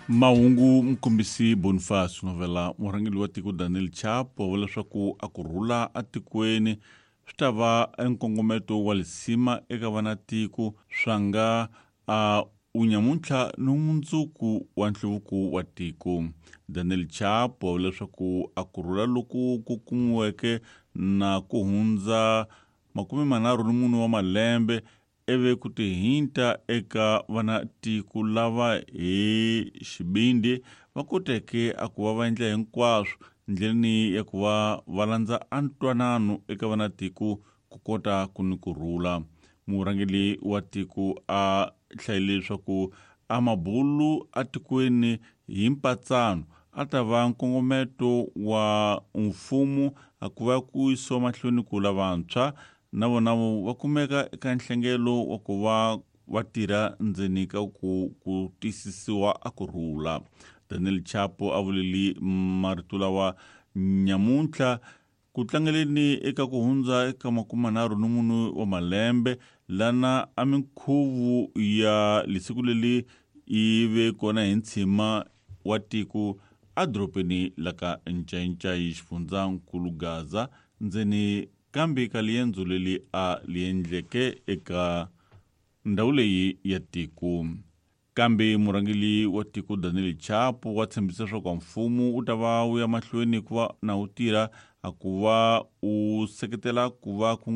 Mahungu Mkombisi Boniface Novela murhangeri wa tiko Daniel Chapo wa vula leswaku a ku rhula atikweni swi ta va nkongometo wa lisima eka vanatiko swa nga a unyamuntlha ni mundzuku wa nhluvuko wa tiko. Daniel Chapo wa vula leswaku a ku rhula loku ku kumiweke na ku hundza 34 wa malembe ivi ku tihinta eka vanatiko lava hi xivindzi va koteke a ku va va endla hinkwaswo ndleleni ya ku va va landza antwanano eka vanatiko ku kota ku ni ku rhula. Murhangeri wa tiko a hlayile leswaku a mabulu atikweni hi mpatsano a ta va nkongometo wa mfumo a ku va ku yisiwa mahlweni ku lavantshwa na vona va kumeka eka nhlengelo wa ku va va tirha ndzeni ka ku tiyisisiwa a ku rhula. Daniel Chapo a vuleli marito lawa nyamuntlha ku tlangeleni eka ku hundza eka 34 wa malembe lana a minkhuvo ya lisiku leri yi ve kona hi ntshima wa tiko edorobeni la ka Ncayincai xifundzankulu Gaza ndzeni kambe ka liendzo leri a li endleke eka ndhawu leyi ya tiko. Kambe murhangeri wa tiko Daniel Chapo wa tshembisa leswaku mfumo wu ta va wu ya mahlweni ku va na wu tirha a ku va u seketela ku va ku